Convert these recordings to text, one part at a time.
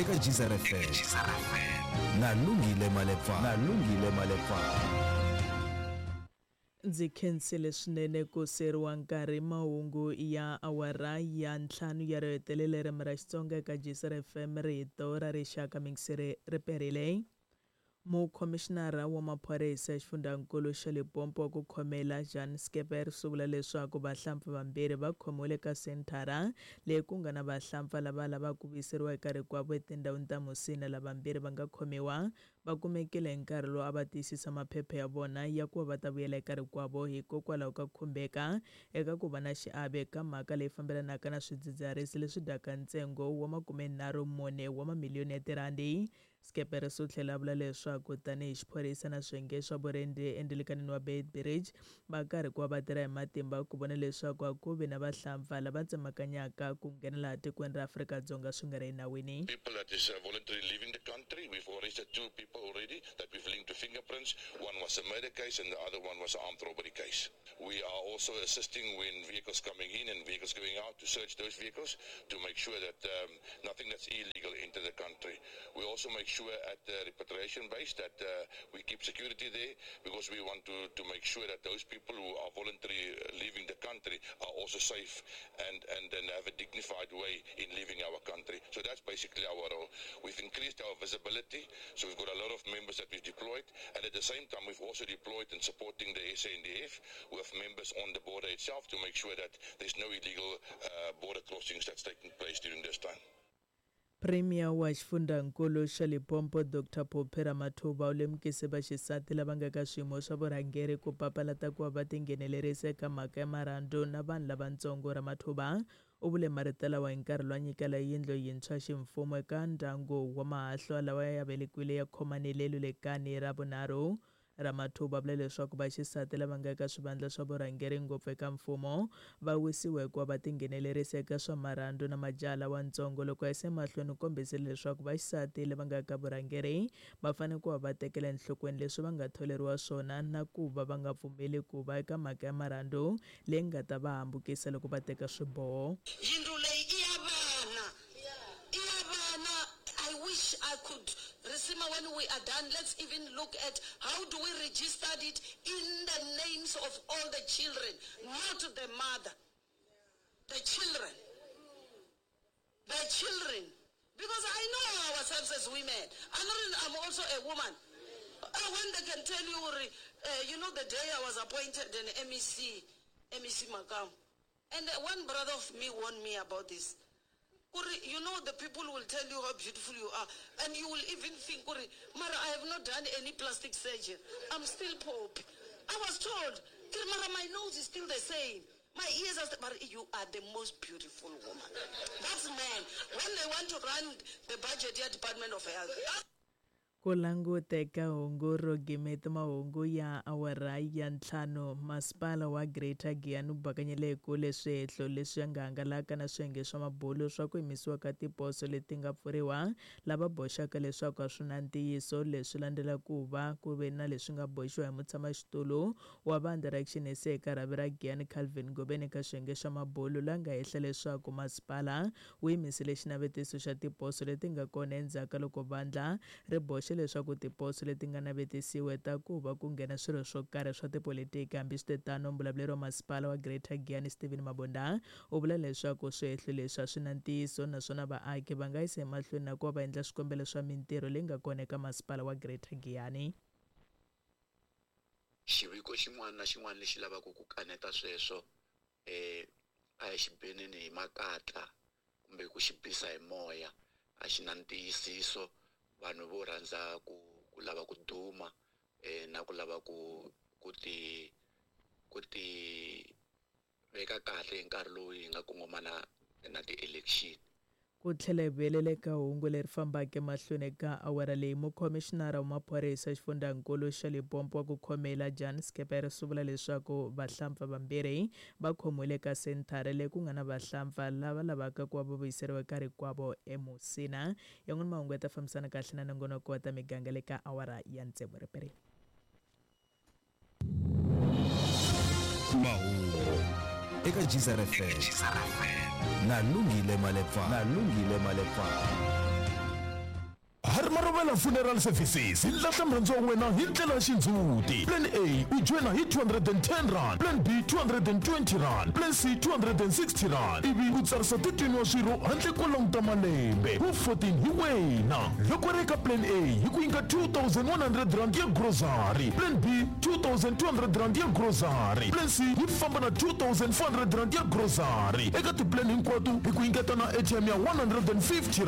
Eka Geyser FM na Lungile Malepfana. Na Lungile Malepfana. Ndzi khensile swinene ku siyeriwa nkarhi mahungu ya awara ya ntlhanu ya ro hetelela ririmi ra Xitsonga eka Geyser FM rito ra rixaka mingiseri ri perile. Mukhomixinara wa maphorisa exifundzhankulu xa Limpopo wa ku khomela Jan Skeepers u vula leswaku vahlampfa vambirhi va khomiwile eka senthara leyi ku nga na vahlampfa lava lavaka ku vuyiseriwa eka rikwavo etindhawini ta Musina. Lavambirhi va nga khomiwa va kumekile hi nkarhi lowu a va tiyisisa maphepha ya vona ya ku va va ta vuyela eka rikwavo hikokwalaho ka ku khumbeka eka ku va na xiave eka mhaka leyi fambelanaka na swidzidziharisi leswi dyaka ntsengo wa 34 wa mamiliyoni ya tirhandi. Skeepers u tlhele a vula leswaku tanihi xiphorisa na swiyenge swa vurindzi endilikanini wa Beitbridge va karhi ku va va tirha hi matimba ku vona leswaku a ku vi na vahlampfa lava tsemakanyaka ku nghena laha tikweni ra Afrika-Dzonga swi nga ri enawini. People that is voluntarily leaving the country, we've arrested two people already that we've linked to fingerprints, one was a murder case and the other one was an armed robbery case. We are also assisting when vehicles coming in and vehicles going out to search those vehicles to make sure that um, nothing that's illegal enter the country. We also make sure at the repatriation base that uh, we keep security there because we want to, to make sure that those people who are voluntarily leaving the country are also safe and, and, and have a dignified way in leaving our country. So that's basically our role. We've increased our visibility, so we've got a lot of members that we've deployed, and at the same time we've also deployed and supporting the SANDF with members on the border itself to make sure that there's no illegal uh, border crossings that's taking place during this time. Premier wa xifundzankulu xa Limpopo Dr Phophi Ramathuba u lemukise vaxisati lava nga ka swiyimo swa vurhangeri ku papalata ku va va tinghenelerisa eka mhaka ya marhandzu na vanhu lavatsongo. Ramathuba u vule marito lawa hi nkarhi lowu a nyikela yindlu yintshwa ximfumo eka ndyangu wa mahahlwa lawa ya velekiwile ya khomanile Lulekani ra vunharhu. Ramathuba vula leswaku vaxisati lava nga eka swivandla swa vurhangeri ngopfu eka mfumo va wisiwa hikuva va tinghenelerisa eka swa marhandzu na majaha lawantsongo. Loko a yisa emahlweni u kombisile leswaku vaxisati lava nga eka vurhangeri va fanele ku va va tekela enhlokweni leswi va nga tholeriwa swona na ku va va nga pfumeli ku va eka mhaka ya marhandzu leyi nga ta va hambukisa loko va teka swiboho. Yindlu leyi i ya vana, i ya vana. I wish I could Risima when we are done let's even look at how do we registered it in the names of all the children not the mother the children the children because I know ourselves as women I'm, not, I'm also a woman uh, when they can tell you uh, you know the day I was appointed an MEC MEC Makam and uh, one brother of me warned me about this Kuri, you know the people will tell you how beautiful you are and you will even think Kuri, Mara I have not done any plastic surgery I'm still pope I was told Kuri, Mara my nose is still the same my ears are still, Mara, you are the most beautiful woman that's men when they want to run the budget ya department of health Ku langute ka hungu ro gimeta mahungu ya awara ya ntlhanu, Masipala wa Greater Giyani wu bakanyele ekule swihehlo leswi nga hangalaka na swiyenge swa mabulu swa ku yimisiwa ka tiposo leti nga pfuriwa, lava boxaka leswaku a swi na ntiyiso. Leswi landzela ku va ku ve na leswi nga boxiwa hi mutshamaxitulu wa vandla ra Action SA eka rhavi ra Giyani Calvin Ngobeni eka swiyenge swa mabulu, la nga hehla leswaku masipala wu yimisile xinavetiso xa tiposo leti nga kona endzhaku ka loko vandla ri boxe leswaku tiposo leti nga navetisiwa ta ku va ku nghena swirho swo karhi swa tipolitiki. Hambiswitetano, muvulavuleri wa masipala wa Greater Giyani Steven Mabunda u vula leswaku swihehlo leswi a swi na ntiyiso naswona vaaki va nga yisa emahlweni na ku va va endla swikombelo swa mintirho leyi nga kona eka masipala wa Greater Giyani. Xiviko xin'wana na xin'wana lexi lavaka ku kaneta sweswo a hi xi beneni hi makatla kumbe ku xi bisa hi moya a xi na ntiyisiso vanhu vo rhandza ku ku lava ku duma na ku lava ku ku ti ku ti veka kahle hi nkarhi lowu hi nga kongomana na ti-election. Ku tlhela hi vuyelela eka hungu leri fambaka emahlweni eka awara leyi, Mukhomixinara wa Maphorisa exifundzhankulu xa Limpopo wa ku khomela, Jan Skeepers u vula leswaku vahlampfa vambirhi va khomiwile eka senthara leyi ku nga na vahlampfa lava lavaka ku va va vuyiseriwa eka rikwavo eMusina. Yan'wana mahungu ya ta fambisana kahle na nongonoko wa ta miganga le ka awara ya tsevu riperile. Mahungu eka Geyser FM na Lungile Malepfana. Na Lungile Malepfana. Marovela Funeral Services hi lahla murhandziwa wa wena hi ndlela ya xindzhuti. Plan A u joyina hi R210, Plan B R220, Plan C R260 ivi u tsarisa 13 wa swirho handle ko languta malembe. Wu 14 hi wena. Loko ri eka Plan A hi ku nyika R2100 ya grocery, Plan B R2200 ya grocery, Plan C yi famba na R2400 ya grocery. Eka tiplan hinkwato hi ku nyiketa na airtime ya R150.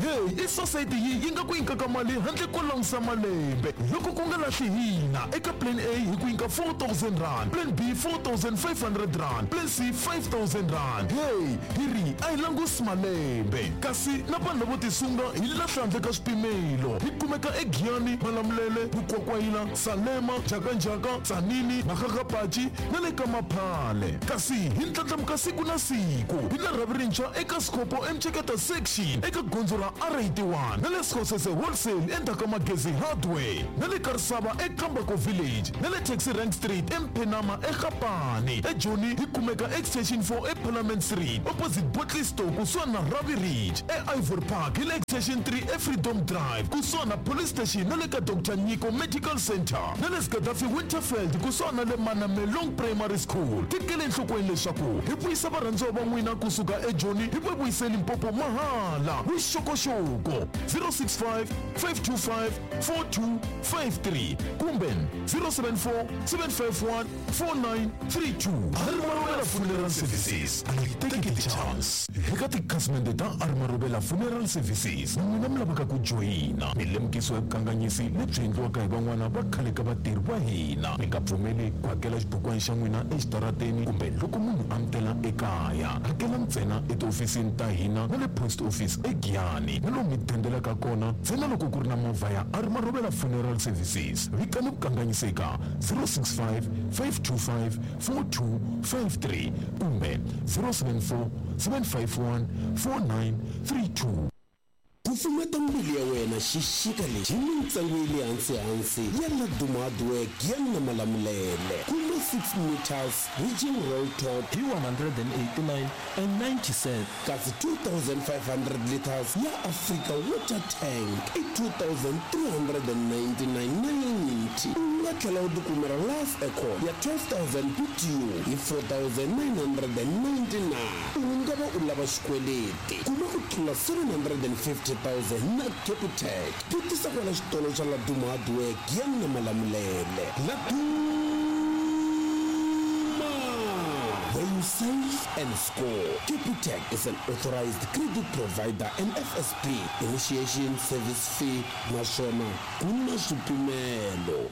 Hey, i society yi yi nga ku nyikaka mali handle ko langusa malembe. Loko ku nga lahli hina, eka Plan A hi ku nyika R4000, Plan B R4500, Plan C R5000. Hey, hi ri a hi langusi malembe. Kasi na vanhu lavo tisunga hi lahla handle ka swipimelo. Hi kumeka eGiyani, Malamulele, Mukwakwayila, Salema, Njhakanjhaka, Tzaneen, Makgakgapachi na le ka Maphale. Kasi hi ndlandlamuka siku na siku. Hi na rhavi rintshwa eka Sekgopo eMtsheketa Section eka gondzo ra R81 na le Sekgosese Wholesale endzhaku ka Magezi Hardware na le Karisava eKambako Village na le Taxi Rank Street eMphenama eGapane. EJoni hi kumeka Extension 4 eParliament Street opposite Bottle Store kusuhani na Ravi Ridge. EIvory Park hi le Extension 3 eFreedom Drive kusuhani na Police Station na le ka Doctor Nyiko Medical Centre na le Gaddafi Winterveld kusuhani na le Manamelong Primary School. Tekela enhlokweni leswaku hi vuyisa varhandziwa va n'wina kusuka eJoni hi va vuyise Limpopo mahala. Vuxokoxoko 065 525 4253 kumbe 074 751 4932. Armarobela Funeral Services a yi teki ti-chance. Eka tikhasimende ta Armarobela Funeral Services, n'wina mi lavaka ku joyina milemukiso ya vukanganyisi lebyi endliwaka hi van'wana va khale ka vatirhi va hina. Mi nga pfumeli ku hakela xibukwana xa n'wina exitarateni kumbe loko munhu a mi tela ekaya. Hakela ntsena etihofisini ta hina na le post office eGiyani na lomu mi dendelaka kona ntsena loko ku ri na movha ya Armarobela Funeral Services. Vikani vukanganyisi eka 065 525 4253 kumbe 074 751 4932. Kufumeta mbilu ya wena xixika lexi hi mintsengo ya le hansi-hansi ya Laduma Hardware Giyani na Malamulele. Kuma 6 meters Ridging Roll Top hi 189 and 90 cents. Kasi 2500 liters ya Africa Water Tank i 2399.90. U nga tlhela u tikumela Life Aircon ya 12000 BTU hi 4999. U nga va u lava xikweleti, kuma ku tlula 750,000 na Capitec. Vutisa kwala xitolo xa Laduma Hardware Giyani na Malamulele. Laduma, where you save and score. Capitec is an authorized credit provider and FSP. Initiation service fee naswona ku na swipimelo.